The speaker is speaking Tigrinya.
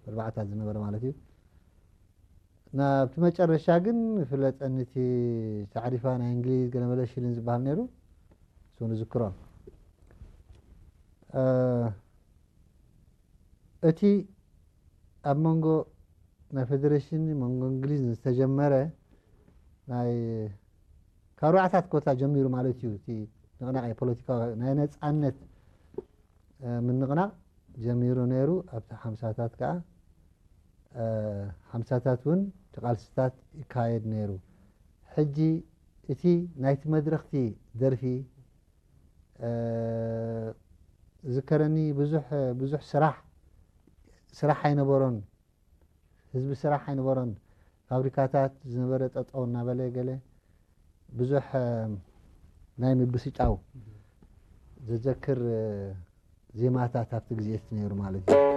ኣርባዓታት ዝነበረ ማለት እዩ። ናብቲ መጨረሻ ግን ፍለጠኒ እቲ ታዕሪፋ ናይ እንግሊዝ ገለመለ ሽልን ዝበሃል ነይሩ፣ እሱ ንዝክሮ። እ፣ እቲ ኣብ መንጎ ናይ ፌደሬሽን መንጎ እንግሊዝ ዝተጀመረ ናይ ካብ ኣርባዓታት ኮታ ጀሚሩ ማለት እዩ። እቲ ንቕናቕ ፖለቲካዊ ናይ ነፃነት እ፣ ምንቕናቕ ጀሚሩ ነይሩ። ኣብቲ ሓምሳታት ከዓ እ፣ ሓምሳታት እውን እቲ ቃልስታት ይካየድ ነይሩ። ሕጂ እቲ ናይቲ መድረኽቲ ደርፊ እ፣ ዝከረኒ ብዙሕ ብዙሕ ስራሕ ስራሕ ኣይነበሮን። ህዝቢ ስራሕ ኣይነበሮን። ፋብሪካታት ዝነበረ ጠጠው እናበለ ገለ ብዙሕ እ፣ ናይ ምብስጫው ዘዘክር እ፣ ዜማታት ኣብቲ ግዜ እቲ ነይሩ ማለት እዩ።